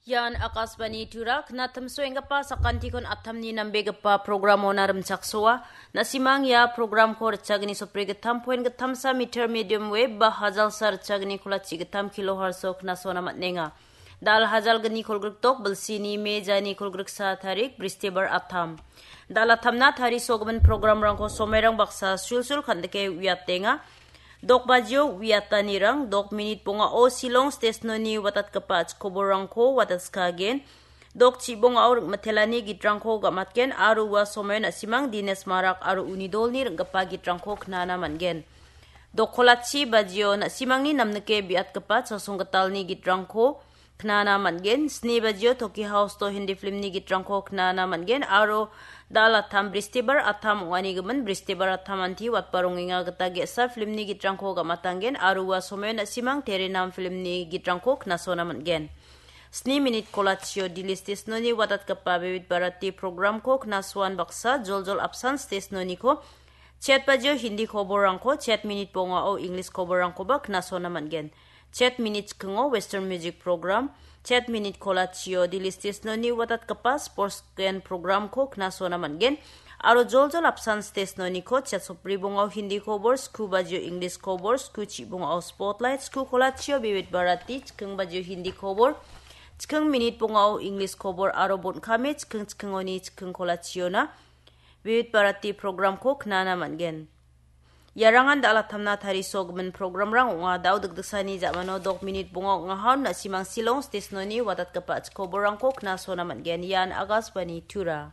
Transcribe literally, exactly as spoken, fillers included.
Ian Akashvani Tura, knatimsoenggipa sakantikon atamni nambegipa programona rimchaksoa. Na·simang ia programko ritchagni sopri gittam point gittamsa meter medium wave ba hajalsa ritchagni kolachi gittam kilohertz-o knasona man·enga. Dal hajalgni kolgrikdok bilsini me jani kolgriksa tarik, Bristibar atam. Dal atamna tarisogimin programrangko somairang baksa sulsul kandike uiatenga. Dok bajio uiatanirang, dok minit bongao Shillong stesnoni watatgipa chikoborrangko watatskagen. Dok chibongao ring·mitelani gitrangko gamatgen aro ua somaio na·simang Dines Marak aro uni dolni ring·gipa gitrangko knana man·gen. Dok kolachi bajio na·simangni namnike biatgipa chasonggitalni gitrangko knana man·gen. Sni bajio Toki House-o Hindi filmni gitrangko knana man·gen aro dal atam Bristibar atam ong·anigimin Bristibar atam anti watba rongenga gita ge·sa filmni gitrangko gamatanggen aro ua somaio na·simang Terenam filmni gitrangko knasona man·gen. Sni minit kolachio Dili stesnoni watatgipa Vividh Bharati programko knasoan baksa joljol apsan stesnoniko chet bajio Hindi koborrangko, chet minit bongao English koborrangkoba knasona man·gen. Chet minit chikingo Western Music Program, chet minit kolachio Dili stesnoni watatgipa Sports Weekend Programko knasona man·gen. Aro joljol apsan stesnoniko chet sopri bongao Hindi kobor, sku bajio English kobor, sku chibongao Spotlight, sku kolachio Vividh Bharati, chiking bajio Hindi kobor, chiking minit bongao English kobor aro bon·kame chiking chikingoni chiking kolachiona Vividh Bharati programko knana man·gen. Iarangan dal atamna tarisogimin programrang ong·a. Dao dikdiksani ja·mano dok minit bonga ong·aha, na·simang Shillong stesnoni watatgipa chikoborrangko knasona man·gen. Ian Akashvani Tura.